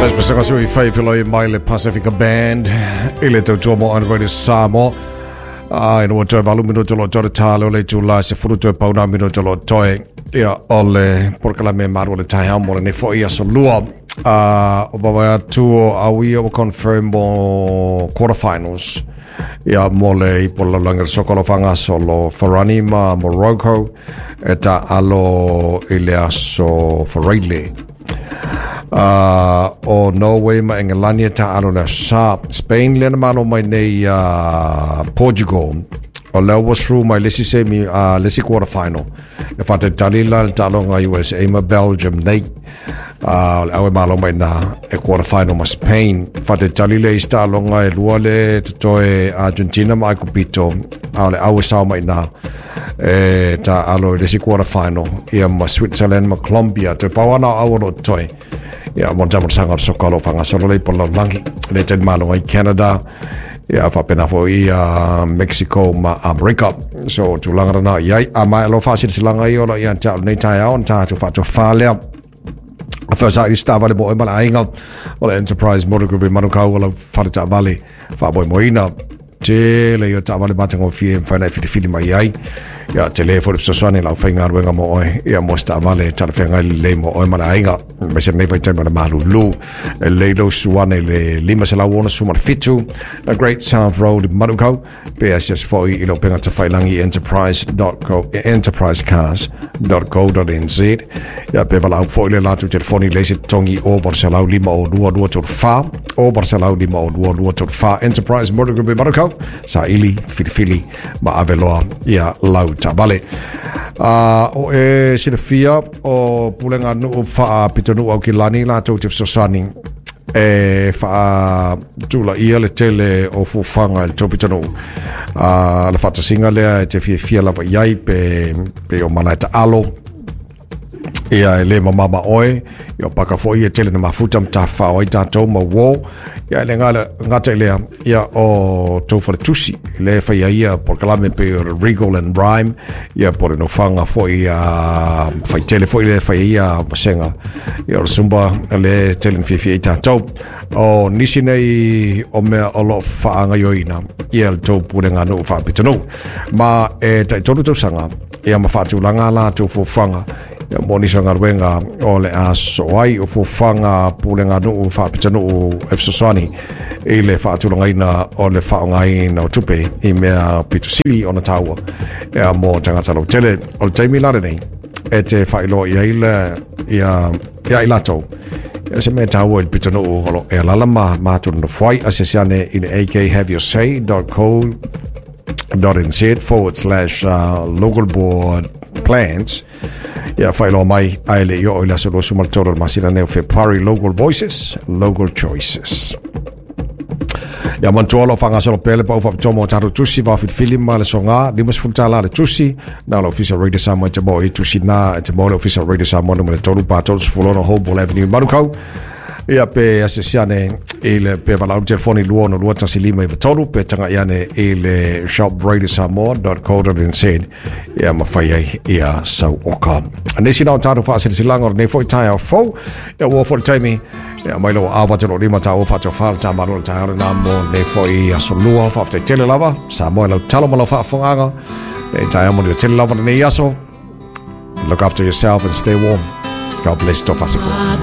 Les pasanga sui fai feloi mai le Pacifica Band i le tautua mo on Radio Samoa. A ina ua toe valu minuto lo toe tā leo le tula se furu toe pauna minuto lo toe ia o le polokalame maru o le taeao mo lenei foi aso lua. O vaavaai atu o au ia ua confirm mo quarterfinals ia mo le ipu o le lalolagi o le soka o lo o faagasolo Farani ma Morocco e taalo i le aso Faraile. O Norway ma Engelani e taalo i le aso Sa. Spain lea na malo mai nei ia Portugal. O lea ua through mai le isi semi, le isi quarter final. E faatalitali la le taaloga a USA ma Belgium nei. O le au e malo mai na e quarter final ma Spain. Faatalitali le isi taaloga e lua le totoe Argentina ma Aikupito. A o le au e sao mai na e taalo i le isi quarter final ia ma Switzerland ma Colombia. Toe pau ana o au o lo o totoe. Ia mo le taamailosaga o le soka o lo o faagasolo le ipu o le lalolagi. Le tali maloga i Canada. Ia faapena foi ia Mexico ma Amerika. So tulaga lena i ai. A maea loa faasilasilaga ia o lo o ia te au i lenei taeao ona tatou faatofā lea. A feosaʻi isi taavale mo oe ma le aiga o le Enterprise Motor Group i Manukau o lau fale taavale faamoemoeina. Tele ia o taavale matagofie e mafai ona e filifili mai ai. Ia tele foi le fesoasoani a le aufaigaluega mo oe ia mo se taavale e talafeagai lelei mo oe ma le aiga. Aemaise lenei vaitaimi o le malulu. E lelei lou susu ane i le 567 Great South Road Manukau pe asiasi foi i lau upega tafailagi enterprise.co enterprisecars.co.nz ia pe valaau foi le latou telefoni i le isi totogi o 805 234 o 805 234 Enterprise Motor Group i Manukau saili filifili ma ave loa ia lau taavale. O e silafia o pulega nuu faapitonuu Aukilani latou te fesoasoani e faatulaia le tele o fuafuaga i le tou pitonuu. Le faatasiga lea e te fiafia lava i ai pe, pe o malae taalo, ia e le mamama oe, ia o paka foi e tele na mafuta ma tafafao ai tatou ma uo, ia e le gata i lea, ia o tou faletusi, le e fai ai ia polokalame pei o le Regal and Rhyme, ia po o le nofoaga foi a faitele foi le e fai ai ia vasega, ia o le Zumba le e tele na fiafia ai tatou. O nisi nei o mea o lo o faagaoioina ia le tou pulega nuu faapitonuu. Ma e taitolu tausaga ia ma faatulaga a latou fuafuaga ia mo nisi o galuega o le a sosoo ai o fuafuaga pulega nuu faapitonuu e fesoasoani i le faatulagaina o le faaaogaina o tupe i mea pito sili ona taua ia mo tagata lautele. O le taimi la lenei e te faailoa i ai le ia ia i latou ia se mea taua i le pitonuu o lo e alala ma matou nonofo ai asiasi ane i le akhaveyousay.co.nz forward slash local board plans ia faailoa mai ae le i oo i le aso 23 o le masina nei o Fepuari. Local voices, local choices. Ia manatua o lo o faagasolo pea le pau faapitoa mo tatou tusi vaofilifili ma le soga $50 le tusi na o le Ofisa o Radio Samoa e te maua i tusi na e te maua le Ofisa o Radio Samoa numera 3 pa 36 Hopewell Avenue Manukau. Ia pe asiasi ane i le pe valaau telefoni 262 1593 pe tagai ane i le shopradiosamoa.co.nz ia mafai ai ia sau oka. Nisi na o tatou faasilasilaga o lenei foi taeao fou ia ua oo foi le taimi ia mai lou aava te lima tā ua faatofā le tā malo le taeao lena mo lenei foi aso lua. Faafetai tele lava Samoa i lau talo ma lau faafofogaaga. E taeao manuia tele lava lenei aso. Look after yourself and stay warm. God bless. Tō whasifua.